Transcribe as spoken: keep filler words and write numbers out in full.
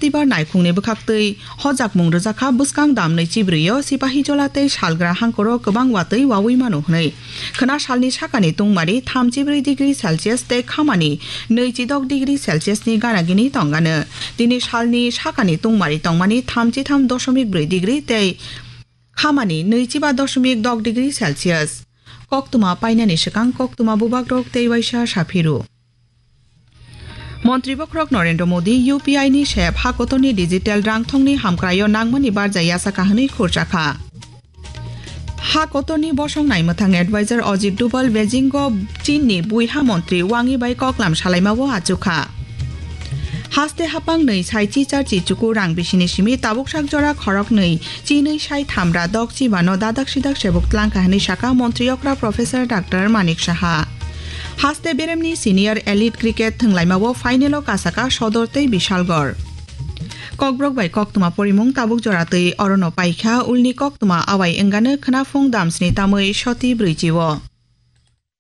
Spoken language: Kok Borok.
September naikhungni bwkhaktwi hojakmung rwjakha bwskang dam nwichibrwi o Sipahijola tei Salgra hangkoro kwbang watwi wawi mano hwnwi. Khwna salni sakani tungmari thamchibrwi degree Celsius tei khamani nwichidok degree Celsius ni ganagini tongano. Tini salni sakani tungmari tongmani thamchitham doshomik brwi degree tei khamani nwichiba doshomik dok degree Celsius. Koktwma painani swkang koktwma bubagrok tei waisa saphiru. Montri bokhorok Narendra Modi U P I ni sep ha kotorni digital rangthongni hamkraio nangmani barja yasakha hwnwi khurchakha. Ha kotorni bosong naimwthang advisor Ajit Doval Beijing o Chinni buiha montri Wang Yi bai koklam salaimao achukha. Haste hapang nwi sai chichar chichuku rang bisini simi tabuk sak jora khorok nwi chinwi sai thamra dok chibano dadak sidak sebuk tlangkha hwnwi saka montri okra Professor Doctor Manik Saha. Haste beremni senior elite cricket thwnglaimao final o kasaka Sodor tei Bishalgarh. Kokborok bai koktwma porimung tabuk jora twi orono paikha, ulni koktwma awai wngano khwnaphung damsni tamwi soti brwichi o.